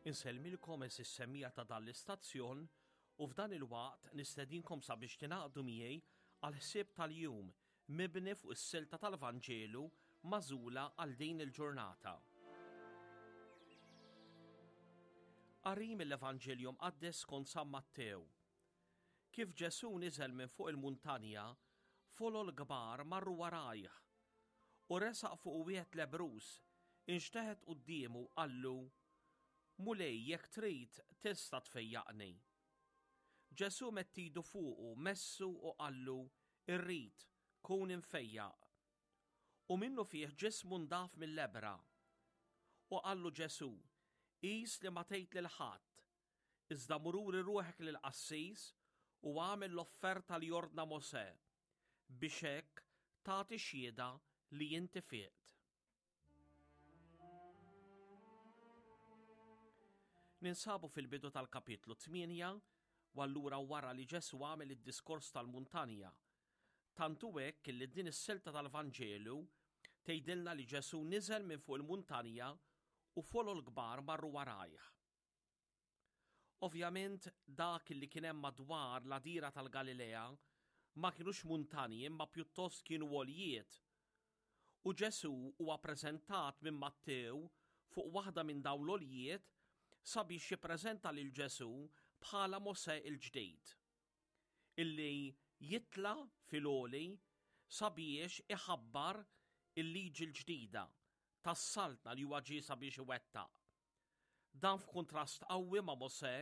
Insellmilkom eżis semija ta' dan l-istazzjon u f'dan il-waqt nistedinkom sabiex tingħaqdu miegħi għal ħsieb tal-jum mibni fuq is-silta tal-Vanġelu magħżula għal din il-ġurnata. Qari mill-Evanġelju Mqaddes skont San Mattew. Kif Ġesù niżel minn fuq il-muntanja, folol kbar marru warajh. U resaq fuq wieħed lebbruż, inxteħet quddiemu u qallu, Mulej, jekk trid, tista' tfejjaqni. Ġesù medd idu fuqu, messu u qallu, Irrid, kun imfejjaq. U minnufih ġismu ndaf mill-lebbra. U qallu Ġesù, Qis li ma tgħid lil ħadd, iżda mur uri ruħek lill-qassis u agħmel l-offerta li ordna Mosè, biex hekk tagħti xhieda li inti fiqt. Ninsabu fil-bidu tal-kapitlu 8 u allura wara li Ġesù għamel id-diskors tal-muntanja. Tant hu hekk li din is-silta tal-Vanġelu tgħidilna li Ġesù niżel minn fuq il-muntanja u folol kbar marru warajh. Ovvjament dak li kien hemm madwar l-għadira tal-Galilea ma kinux muntanji imma pjuttost kienu għoljiet. U Ġesù huwa preżentat minn Mattew fuq waħda minn dawn l-għoljiet sabiex jippreżenta lil Ġesù bħala Mosè il-ġdid. Illi jitla' fil-għoli sabiex iħabbar il-liġi l-ġdida tas-saltna li huwa ġie sabiex iwettaq. Dan f'kuntrast qawwi ma' Mosè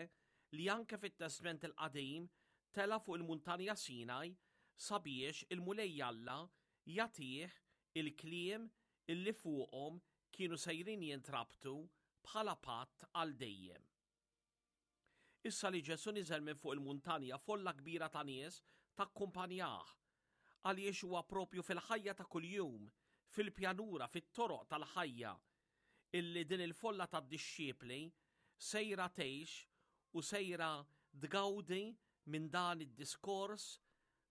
li anke fit-Testment il-Qadim tela' fuq il-Muntanja Sinaj sabiex il-Mulej Alla jagħtih il-kliem illi fuqhom kienu sejrin jintrabtu bħala patt għal dejjem. Issa li Ġesù niżel minn fuq il-muntanja folla kbira ta' nies takkumpanjah, għaliex huwa propju fil-ħajja ta' kuljum, fil-pjanura, fit-toroq tal-ħajja, illi din il-folla ta' dixxipli sejra tgħix u sejra tgawdi minn dan id-diskors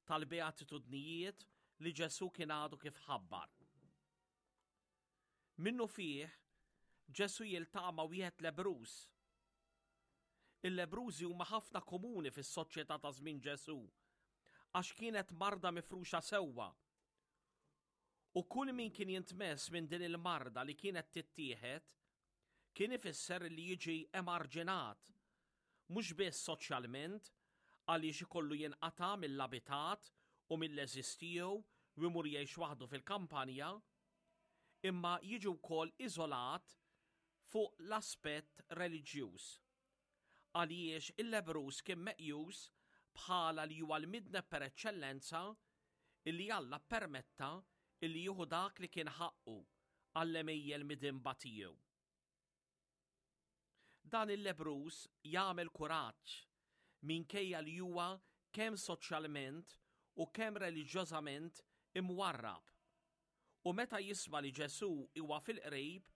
tal-Beatitudnijiet li Ġesù kien għadu kif ħabbar. Minnufih, Ġesù jiltaqa' ma' wieħed lebbruż. Il-lebbrużi huma ħafna komuni fis-soċjetà ta' żmien Ġesù, għax kienet marda mifruxa sewwa. U kull min kien jintmess minn din il-marda li kienet tittieħed, kien ifisser li jiġi emarġinat, mhux biss soċjalment, għaliex ikollu jinqata' mill-abitat u mill-għeżież tiegħu u jmur jgħix waħdu fil-kampanja, imma jiġi wkoll iżolat fuq l-aspett reliġjuż. Għaliex il-lebbruż kien meqjus bħala li huwa l-midneb per eċċellenza illi Alla ppermetta illi jieħu dak li kien ħaqqu għall-għemejjel midinba tiegħu. Dan il-lebbruż jagħmel kuraġġ minkejja li huwa kemm soċjalment u kemm reliġjożament imwarrab. U meta jisma' li Ġesù huwa fil-qrib,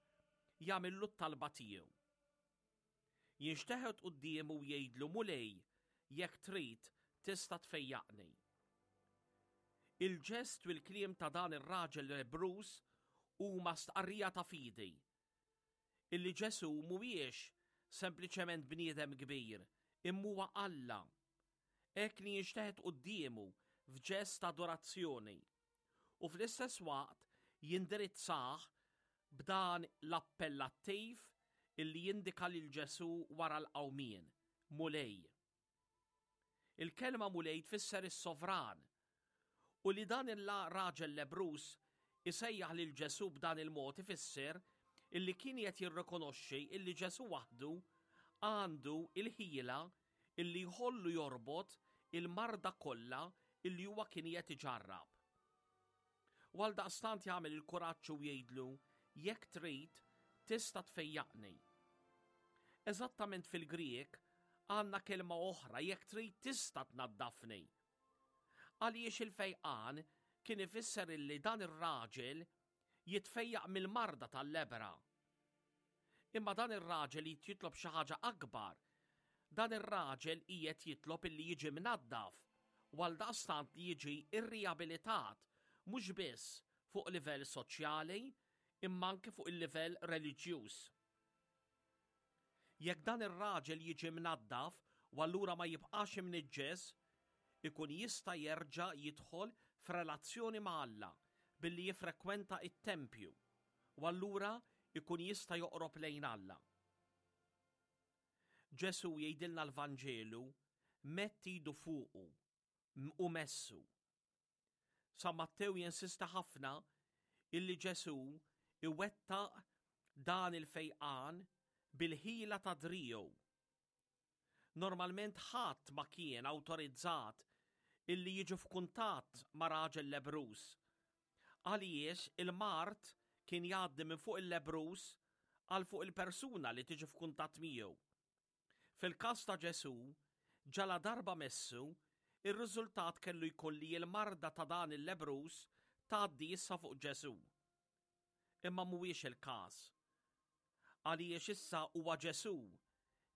jagħmillu t-talba tiegħu. Jinxteħet quddiemu u jgħidlu, Mulej, jekk trid, tista' tfejjaqni. Il-ġest u l-kliem ta' dan ir-raġel lebbruż huma stqarrija ta' fidi illi Ġesù mhuwiex sempliċement bniedem kbir, imma huwa Alla. Hekk li jinxteħet quddiemu f'ġest ta' adorazzjoni u fl-istess waqt jindirizzah b'dan l-appellattiv illi jindika lil Ġesù wara l-qawmien, Mulej. Il-kelma Mulej tfisser is-sovran. U li dan il-raġel lebbruż isejjaħ lil Ġesù b'dan il-mod ifisser illi kien qed jirrikonoxxi illi Ġesù waħdu għandu il-ħila illi jħollu jorbot il-marda kollha illi huwa kien qed iġarrab. U għaldaqstant jagħmel il-kuraġġ u jgħidlu, jekk trid, tista' tfejjaqni. Eżattament fil-Grieg għandna kelma oħra, jekk trid tista' tnaddafni. Għaliex il-fejqan kien ifisser illi dan ir-raġel jitfejjaq mill-marda tal-lebra. Imma dan ir-raġel qed jitlob xi ħaġa akbar. Dan ir-raġel qiegħed jitlob illi jiġi mnaddaf u għaldaqstant li jiġi irriabilitat mhux biss fuq livell soċjali imma anke fuq il-livell reliġjuż. Jekk dan ir-raġel jiġi mnaddaf u allura ma jibqax imniġġes, ikun jista' jerġa' jidħol f'relazzjoni ma' Alla billi jiffrekwenta t-tempju u allura jkun jista' joqrob lejn Alla. Ġesù jgħidilna l-Vanġelu medd idu fuqu u messu. San Mattew jinsista ħafna illi Ġesù iwettaq dan il-fejqan bil-ħila ta' driegħu. Normalment ħadd ma kien awtorizzat illi jiġu f'kuntatt ma' raġel lebbruż, għaliex il-mard kien jgħaddi minn fuq il-lebbruż għal fuq il-persuna li tiġi f'kuntatt miegħu. Fil-każ ta' Ġesù, ġaladarba messu, ir-riżultat kellu jkun li l-marda ta' dan il-lebbruż tgħaddi issa fuq Ġesù. Imma mhuwiex il-każ. Għaliex issa huwa Ġesù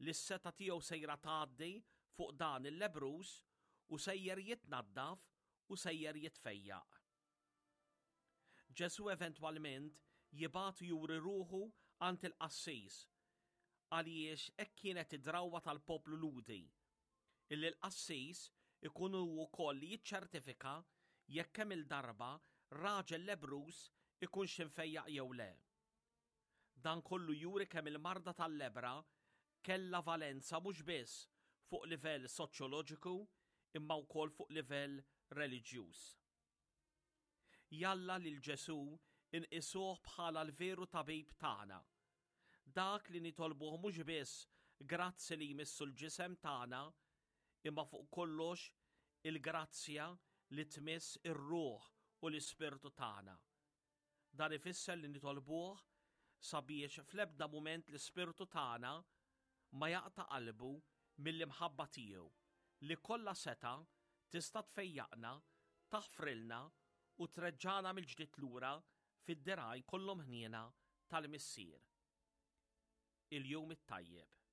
li s-setgħa tiegħu sejra tgħaddi fuq dan il-lebbruż u sejjer jitnaddaf u sejjer jitfejjaq. Ġesù eventwalment jibgħatu juri ruħu għand il-qassis, għaliex hekk kienet id-drawwa tal-poplu Lhudi, illi l-qassis ikun hu wkoll li jiċċertifika jekk kemm-il darba raġel lebbruż ikunx imfejjaq jew le. Dan kollu juri kemm il-marda tal-lebbra kellha valenza mhux biss fuq livell soċjoloġiku imma wkoll fuq livell reliġjuż. Jalla lil Ġesù nqisuh bħala l-veru tabib tagħna. Dak li nitolbuh mhux biss grazzi li jmissu l-ġisem tagħna, imma fuq kollox il-grazzja li tmiss ir-ruħ u l-ispirtu tagħna. Dan ifisser li nitolbuh sabiex fl-ebda mument l-ispirtu tagħna ma jaqta' qalbu mill-imħabba tiegħu li kollha setgħa tista' tfejjaqna, taħfrilna u treġġagħna mill-ġdid lura fid-dirgħajn kollhom ħniena tal-Missier. Il-Jum it-Tajjeb.